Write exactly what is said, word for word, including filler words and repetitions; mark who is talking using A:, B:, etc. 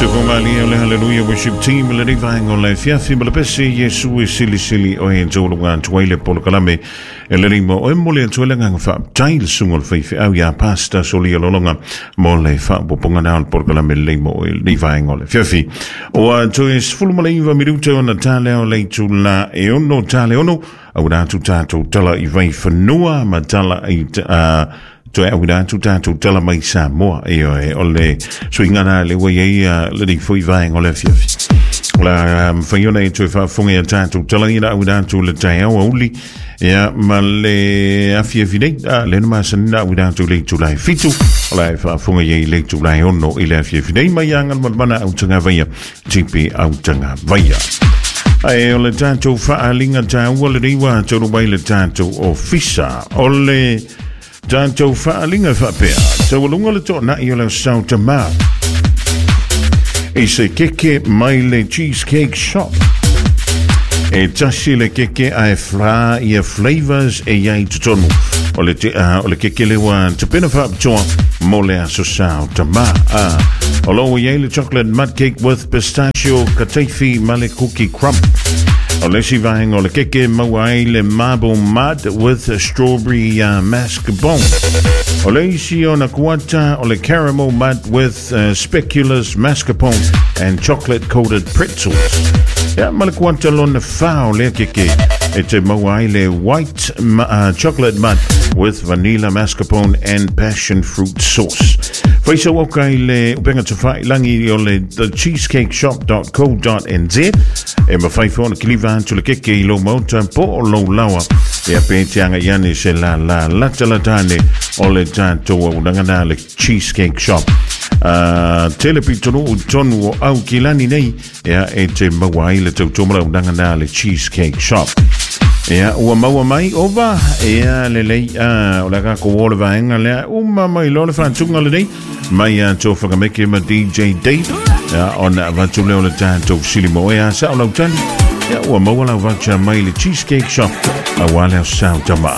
A: Sukumali o le Hallelujah Worship Team le nei vaenga o le afiafi ma le pese Iesu e silisili o e taualuga atu ai le polokalame e le lima o e momoli atu ai le agaga faafetai le susuga o le faifeau ia Pastor Solia Lologa mo le faaopoopoga na o le polokalame lelei mo oe lenei vaega o le afiafi. Ua toe sefulu ma le iva minute ona talea o le itula e ono tale ono auina atu tatou tala i vaifanua ma tala i uh, toe auina atu tatou tala mai Samoa. Ioe, o le suiga na le ua i ai uh, lenei foi vaega o le afiafi. O le a mafai ona e toe faafofoga ia tatou tala ina auina atu le taeao auli ia ma le afiafi nei a le na masani na auina atu le itula e fitu o la e faafofoga i ai le itula e ono i le afiafi nei mai Agalumalumana Autagavaia Tipi Autagavaia. Ae o le tatou faaaliga taua lenei ua taunuu mai le tatou ofisa. O le tatou faaaliga faapea, taualuga le toanai o le Aso Tamā i se keke mai le Cheesecake Shop. E tasi le keke ae fa ia flavors e i ai totonu. O le, te, uh, o le keke le ua tapena faapitoa mo le Aso Sa o Tamā. Uh, o lo o i ai le chocolate mud cake with pistachio kataifi ma le cookie crumb. O le isi vaega o le keke maua ai le marble mud with strawberry uh, mascarpone. O le isi ona kuata o le caramel mud with uh, speculoos mascarpone and chocolate coated pretzels. Ia, ma le kuata lona fa o lea keke e te maua ai le white uh, chocolate mud with vanilla mascarpone and passion fruit sauce. Faisa oka i le upenga tawhailangi o le the cheesecake shop dot co dot n z e mawhai whona kiliva atu le keke i lo mauta po o lo lawa e a pe te anga iane se la la lata latane o le tātou unangana le Cheesecake Shop. Uh, tele pitonu u tonu o au kilani nei ea e te maua ai le tautomala unangana le Cheesecake Shop. Ia, ua maua mai ova, ia lelei, uh, o le kako o le vaenga lea, uma mai lo le whantunga le nei, mai a tō whakameke ma D J Dave, ia, ona avatu leo le tātou silimo e a sa o lautani, ia, ua maua lau voucher mai le Cheesecake Shop, a wale au sao tama.